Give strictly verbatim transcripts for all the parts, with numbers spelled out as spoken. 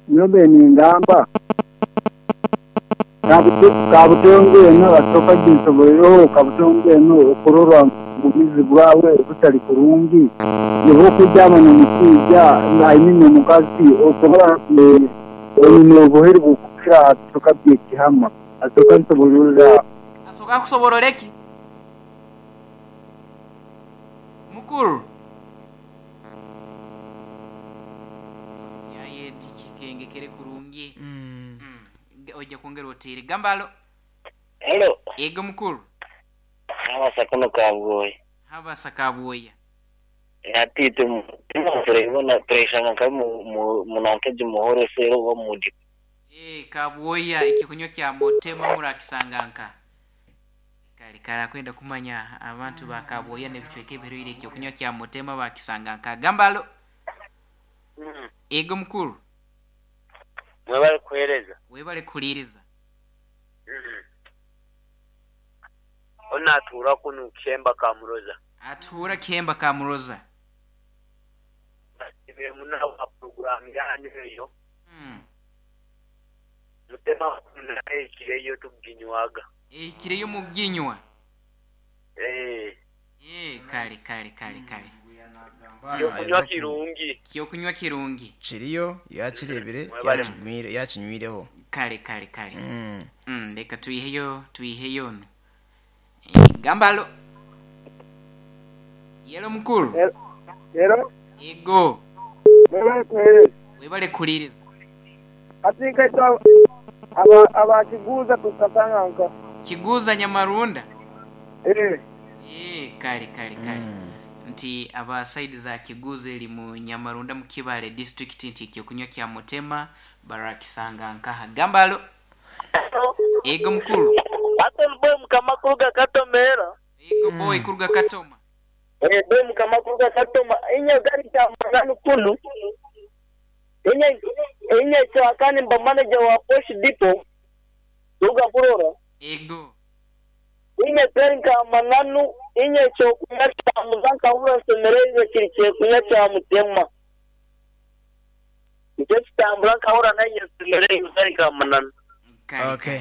Nyobe ningamba kabutongo eno asooka ginsobolereho kabutongo eno okurorwa obumizi bwawe butali kurungi niho okujamu nomushaija I mean omukazi okurora oine obuheru bukukira asooka byekihama asooka nsobororera. Asooka akusoborora eki mukuru yaye tikikengekere kurungi. Mm. Mm. Ojja kwongera otiire gambalo. Hello. Ego mukuru. Habasa kuno kabwoya. Habasa kabwoya. Ati tumurabona tureshanga nka munankeje muhoro sero wa mudi. Eh, kabwoya ekikunywa kya motema murakisanganka. Kale kala kwenda kumanya abantu ba kabwoya n'ebicweka ebiruire ekyokunywa kya motema bakisanganka. Gambalo. Mm. Ego mukuru. Mwebale kuhereza. Webale kuliriza. Mm. Ona atura kunu Kihemba Kamuroza. Atura Kihemba Kamuroza. Ibe muna wa program yanyu eyo. Mm. Mutema naye kireyo tuginywaga. Eh, kireyo muginywa. Eh. Eh, kale kale kale kale. Kyokunywa kirungi. Kyokunywa kirungi. Kiriyo yakirebire Mwebale. yakinywire yakinywireho. Kale kale kale. Mm. Mm, leka tuiheyo tuiheyo no. Eh, gambalo. Yelo mukuru. Rero Ego. mwebale kuhereza. Webale kuliriza. Atinka ito aba abakiguza tukasanganka. Kiguza Nyamarunda. Eh. Eh, kale kale kale. Mm. Nti aba side za Kiguza eri mu Nyamarunda mu Kibale district nti ekyokunywa kya mutema barakisanga nkaha. Gambalo. Ego mukuru. Ate boy mukama kuruga Katomera. Ego boy kuruga Katoma. Eh, boy mukama kuruga Katoma. Inya gari cha mangano kunu. Inya inya chakani mba manager wa Posh Depot. Ruga Burora. Ego. Inya gari ka mananu inya chokunya cha muzanka ura semereze kiri chokunya cha mutema. Icyo kitambura nkahura nayo semereze gari ka mananu. Kale. Okay.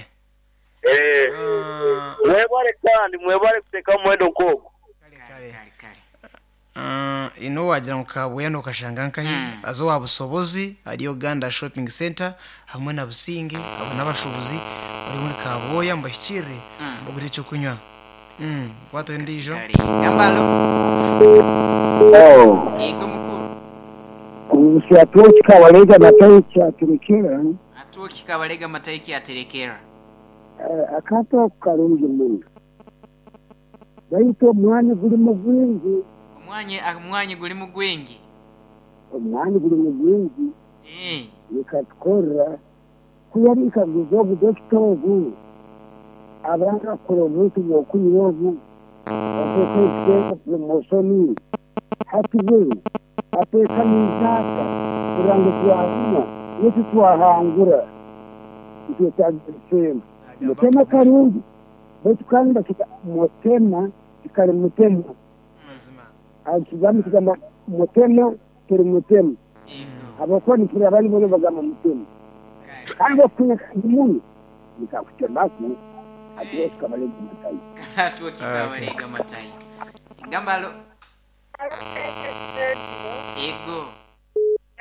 Eh. Ah, Mwebale kandi mwebale kuteka mwendo nkoko. kale Kale kale. kale kale. Ah, ino wagira ngu kabwoya nokashanga nkahi Mm. azo wa busobozi hariyo Uganda Shopping Center hamwe na Businge abo n'abashubuzi bari muri kabwoya mbashyikire Mm. mbagure icyo kunywa. Mm, wato ndijo. Kale. Gambalo. Oh. Ego mukuru. Usiatuo kikabalega matayi kyaturukira. Atuo kikabalega matayi kyaterekera. Akato karungi muno. Baitu omwanya guri mu gwingi. Omwanya omwanya guri mu gwingi. Omwanya guri mu gwingi. Eh. Nikatukorera kuyarikaguza obudokita obu abanga kukora obuntu bw'okunywa obu ateeka ekiteeka promosoni hati we ateeka n'izaaka kugira ngu twahuma yetu twahangura nitwetaaga ebisembo. Mutema karungi baitu kandi bakita mutema kikari mutema. Mazima. Ekigambo kigamba mutema turi mutema. Ego. Abakuba nipura abandi boona bagamba mutema. Kale. Kandi okunya kandi muno nikakutemaku atuo kikabalega matayi. Atuo kikabalega matayi. Gambalo. Ego.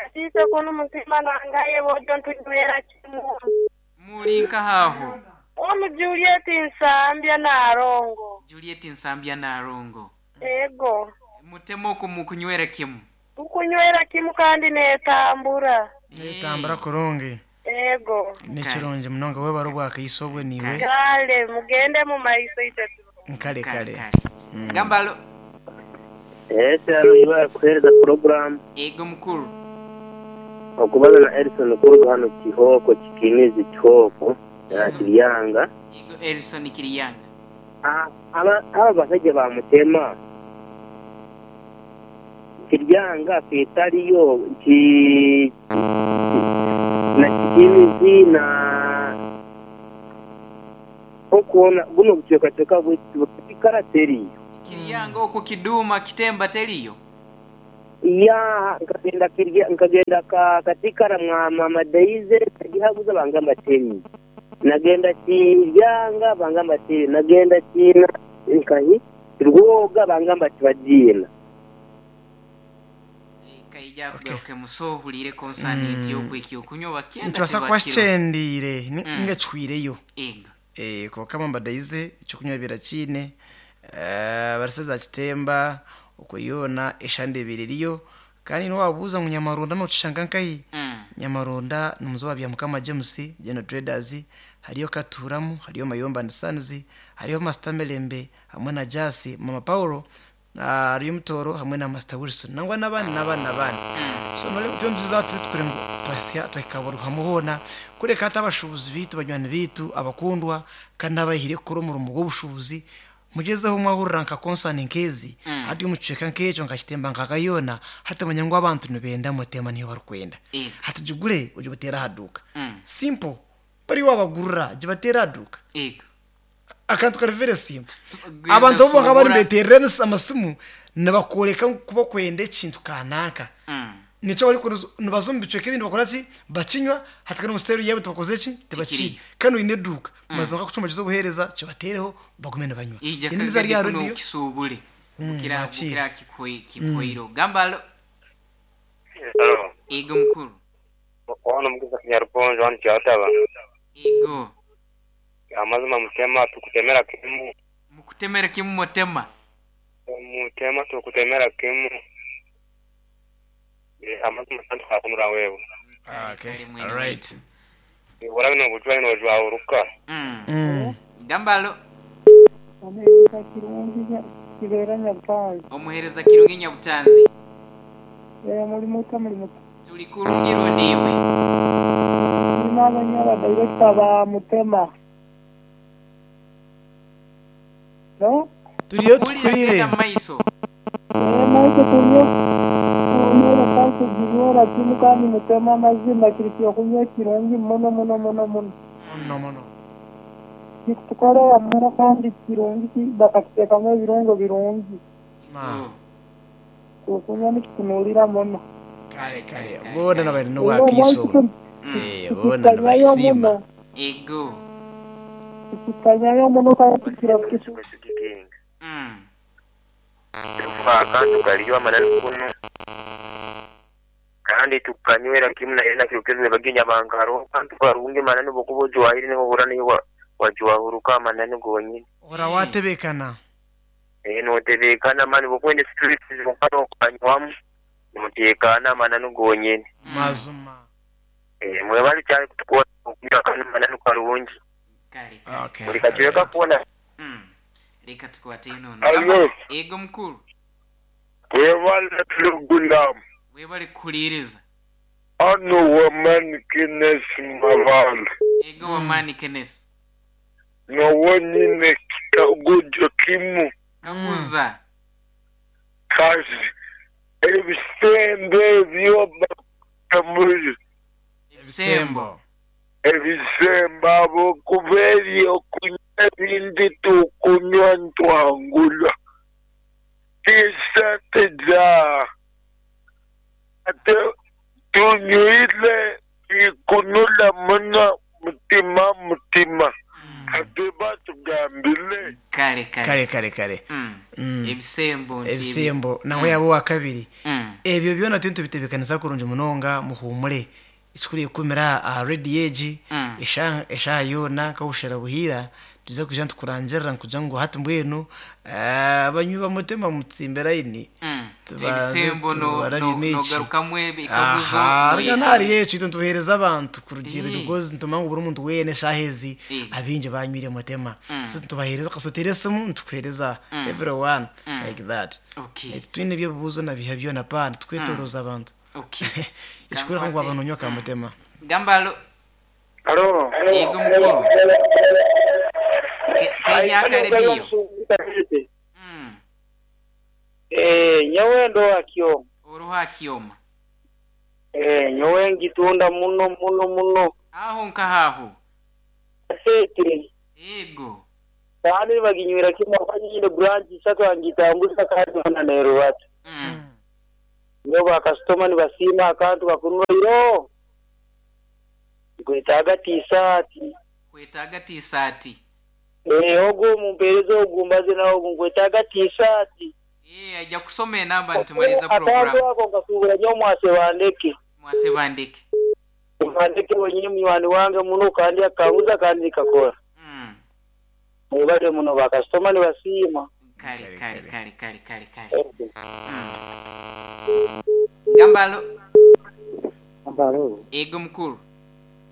Atiise kuno mutima nangaye bojo ntunywera kimu. Muli nkahaho. Onu Juliet Nsambya Narongo. Juliet Nsambya Narongo. Ego. Mutema oku mukunywera kimu. Tukunywera kimu kandi netambura. Netambura kurungi. Ego. Nekirungi munonga webare obwakaiso obwe niwe. Kale mugende mu maiso itwe. Nkale kale. Kale. Gambalo. Eh, cyaro ibara kuhereza program. Ego mukuru. Okubaza na Erison kuruga hano Kihoko kikimizi Kihoko ya Kiriyanga. Ego Erison Kiriyanga. Ah, aba aba basajja ba mutema. Kiriyanga fetariyo ki na kikimizi na okuona guno bucwekacweka bwekikarateri. Kiriyanga okwo kiduma kitemba teriyo. Ya nkagenda kirya nkagenda ka katikara mwa mama Daize tagihaguza bangamba teni. Nagenda kiryanga bangamba teni. Nagenda kina nkahi rwoga bangamba tibagina. Kaija kugaruke musohulire konsani yokwiki okunywa bakyenda Nitubasa kuba kyendire ninga chwireyo. Ego. Eh kwa mbadaize ekyokunywa birakine eh baraseza kitemba okuyona eshande biririyo kandi niwabuuza ngu Nyamaronda nokishanga nkahi. Mm. Nyamaronda numuzo wa Byamukama James General Traders hariyo Katuramu hariyo Mayomba and Sons hariyo Master Melembe hamwe na Jasi Mama Paulo hariyo Mutoro hamwe na Master Wilson nangwa n'abandi n'abandi n'abandi. So nore tuyo tuzi ngo twasya twakaburuha muhona kureka atabashubuzi bitu banywani bitu abakundwa kandi abahire kuri umurumo gw'obushubuzi mugezeho mwahurira nka konsani nkezi Mm. hati omucweka nk'ekyo nkakitemba nkakayona hati manya ngu abantu nibenda mutema niyo barikwenda Ego. hati gigure ogibateera aha duuka. Mm. Simple bari wabagurira gibateera aha duuka Ego. akantu kari very simple. Genda Abantu bo nga bari kusubura. beterera amasimu nibakoreka kuba kwenda ekintu kanaka. Mm. Nico bari kuruza nibaza omu bicweka ebindi bakora ki bakinywa hati kandi omuseeri yaabo tibakoze ki tibakiri Tikiriyo. kandi oine eduuka mazima nkakucumbagiza obuheereza kibateereho bagume nibanywa. Ija Eni mizaari ya kagende kuno rediyo kisubule. Bukira bakira. bukira kikoi kipoiro. Gamba alo. Alo. Ego mukuru. Wano mugeza kinyaruponjo wano kyataba. Ego. Amazima mutema tukutemera kimu. Mukutemera kimu mutema. Mutema tukutemera kimu. Amazima santu kakunura wewe. Okay, Kale mwene alright. waitu. Wala bino bujwa ino jwa uruka. Mm. Mm. Gamba alo. Omuhereza kirungi kibeera Nyabutanzi. Omuhereza kirungi Nyabutanzi. Eh muri muta muri muta. Tuli kurungi rondiwe. Ndimo abanywa director ba Mutema. No? Turiyo Kulira tukurire. genda maiso. Eh naite kunywa kunywera kandi ginywera kimu kandi Mutema amazima kiri kyokunywa kirungi muno muno muno muno. Muno muno. Kikutukorera muno kandi kirungi bakakiteekamu ebirungo birungi. Ma. Okunywa nikitunuulira muno. Kale kale. Bona nabari no Era wakiso. omwaitu Eh bona tukikanyayo nabasima. muno. Ego. Tukikanyayo muno kandi tukira Mm. Tufaka tukaliwa manani kuno. Kandi tukanywera kimu na ena kirukeze baginya bankaro kandi tukarungi manani bokubo jwahiri ne burani wa wajwahuruka manani gonyine. Ora watebekana. Eh notebekana mani bokwende street zikano kanywamu notekana manani gonyine. Mazuma. Eh mwe bali cyari kutukora okunywa kandi manani karungi. Kale kale. Okay. Buli kacweka kuona Mm. Reka tukwate inono. Alo. Gamba ego mukuru. Webale Lugulam. Webale kuliriza. Ano woman kines maval. Ego wamani Kenneth. No wonine kagujo kimu Kakuza. kazi. Ebisembe byoba kamuri. Ebisembo. Ebisembe abo kuberi okunywa ebindi tukunywa ntwangula. Tisente ja. Ate tunywile ikunula muno mutima mutima. Ate batugambile. Kale kale. Kale kale kale. Mm. Mm. Ebisembo nti ebi- Ebisembo nawe yabo wa kabiri. Mm. Ebyo byona tintu bitebekanisa kurungi munonga muhumure. Ekikuru kumira aha radio egi Mm. esha esha yona kabushera buhira tuze kuja ntukurangirira nkuja ngu hati mbwenu abanywi bamutema mutsimbe line. Mm. Tubanze Ebisembo no tubarabye no n'eki. nogarukamwe ebikaguzo. Aha, no- reka ntari yecu itwe ntuhereza abantu kurugira Eh. because ntuma ngu buri muntu wene shahezi Eh. abingi banywire mutema. Mm. So ntubahereza kasotere simu ntukuhereza Mm. everyone Mm. like that. Okay. Eh, twine ebyo bibuzo na biha byona pana twetoroza abantu. Okay. Ekikuru ngu abantu nywa kamutema. Gamba alo. Alo. Ego mukuru. Ke kehyaka rediyo. Mm. Eh nyowe ndo akyo. Oruha kioma. Eh nyowe ngitunda muno muno muno. Aho nkahaho. Sete. Ego. Kandi baginywera kimwe banyine branch isatu angitambuza kandi bana neruwatu. Mm. Nyo bakasitoma nibasiima akantu kakunwa iro. Nkwetaaga tisaati. Kwetaaga tisaati. Eh ogu mumpeereza ogu mbaze nawe ogu nkwetaaga tisaati. Eh ajja kusoma enamba nitumaliza program. Akantu ako nkasuubura nyo mwase bandeke. Mwase bandeke. Bandeke wenyini munywani wange muno kandi akanguza kandi nikakora. Mm. Mwebale muno bakasitoma nibasiima. Kale kale kale kale kale kale. Mm. Gambalo. Gambalo. Ego mukuru.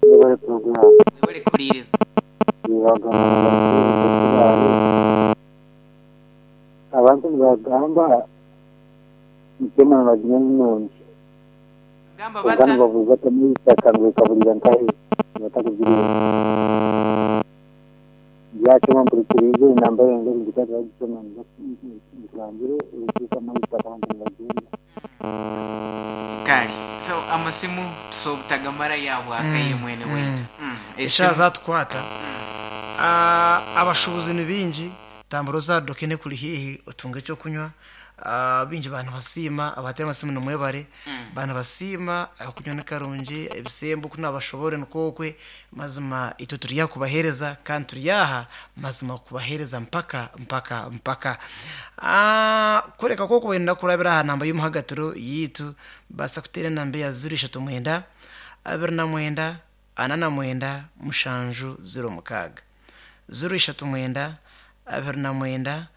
Mwebale program. Mwebale kuliriza. Abantu nibagamba mutema baginya nungi. Gamba bata. Gamba bavuga kamwita kangwe kabulira nkahe batakugiriye. Byakema mpurikirize namba yange ndikata gisoma nkurangire uruka mwita abantu bagenda. Kale. So amasimu tusobutagamara yabwa akaye mwene wetu. Mm. Esha zatwata. Ah abashubuzi ni bingi tamburo za dokene kuri hihi utunge cyo kunywa ah bingi bantu basima abatema amasimu no mwebare bantu basima akunywa n'akarungi ebisembo kuna bashobore nkokwe mazima ito turiya kubahereza kandi turiyaha mazima kubahereza mpaka mpaka mpaka ah kureka koko wenda kurabira aha namba y'umuhagatiro yitu basa kutera namba ya zero eshatu mwenda abiri na mwenda ana na mwenda mushanju zero mukaga zero eshatu mwenda abiri na mwenda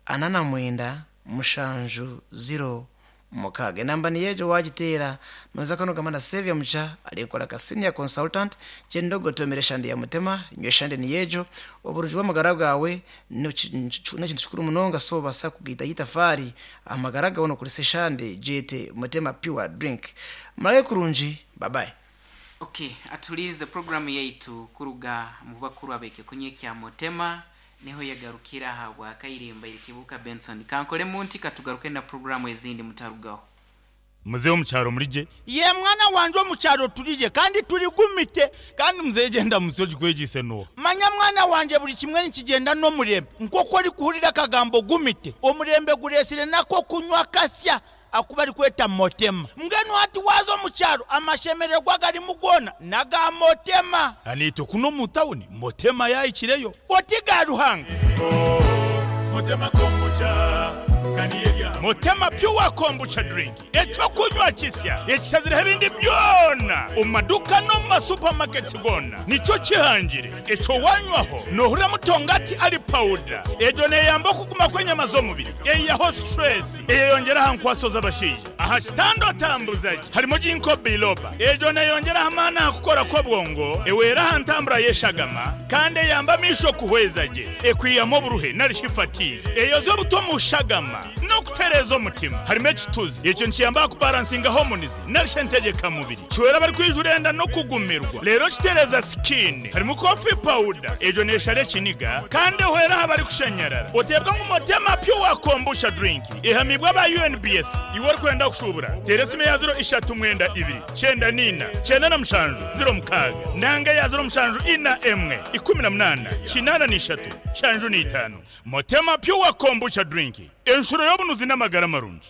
ana na mwenda mushanju zero mukaga. Enamba ni yejo wagiteera noza kano gamana Sevia Mucha alikola ka senior consultant chendogo tomere shandi ya mutema nywe shandi ni yejo oburungi bw'amagara gawe n'ekintu kikuru munonga so basa kugita yitafari amagara gawe nokulisa shandi jete mutema pure drink malaye kurungi bye bye. Okay, atulize programu yaitu kuruga mu bakuru abeke kunye kya mutema niho yagarukira habwa kairimba irikibuka Benson kankole munti katugaruke na programu ezindi mutarugaho. Muzehe omukyaro murije ye mwana wanje omukyaro turije kandi turigumite kandi muzehe genda musoji kwegise no manya mwana wanje buli kimwe nikigenda n'omurembe nk'oku orikuhurira akagambo gumite omurembe guresire nako kunywa kasya akuba ari kweta motema mbwenu hati waza omukyaro amashemererwa garimu gona naga motema anito kuno mu tawuni motema yayikireyo otiga ruhanga oh, motema kombucha Motema pure kombucha drink echo kunywa kisya ekisazira ebindi byona omaduka no ma supermarkets gona nico kihangire echo wanywaho nohura mutongati ali powder ejo neyamba kuguma kwenyama z'omubiri eyaho stress eyongera hankwaso z'abashija aha kitando tambuzaji harimo jinko biloba ejo neyongera hamana kukora kwa bwongo ewera hantambura yeshagama kandi yamba misho kuhwezaje ekwiyamo buruhe narishifati eyozo butomu shagama no kutereza omutima harimo ekituzi ekyo nkiyamba kubalansinga hormones narishentegeka mubiri kiwera bari kwijurenda no kugumirwa rero kitereza skin harimo coffee powder ejo neshare kiniga kandi hwera habari kushenyerera otebwa nk'umutema pure kombucha drink ihamibwa ba U N B S iwe kwenda kushubura teresime ya zero ishatu mwenda ibiri cyenda nina cyenda na mushanju zero mukaga nanga ya zero mushanju ina emwe ikumi na munana kinana n'ishatu shanju n'itanu motema pure kombucha drink enshuro y'obunuzi n'amagara marungi.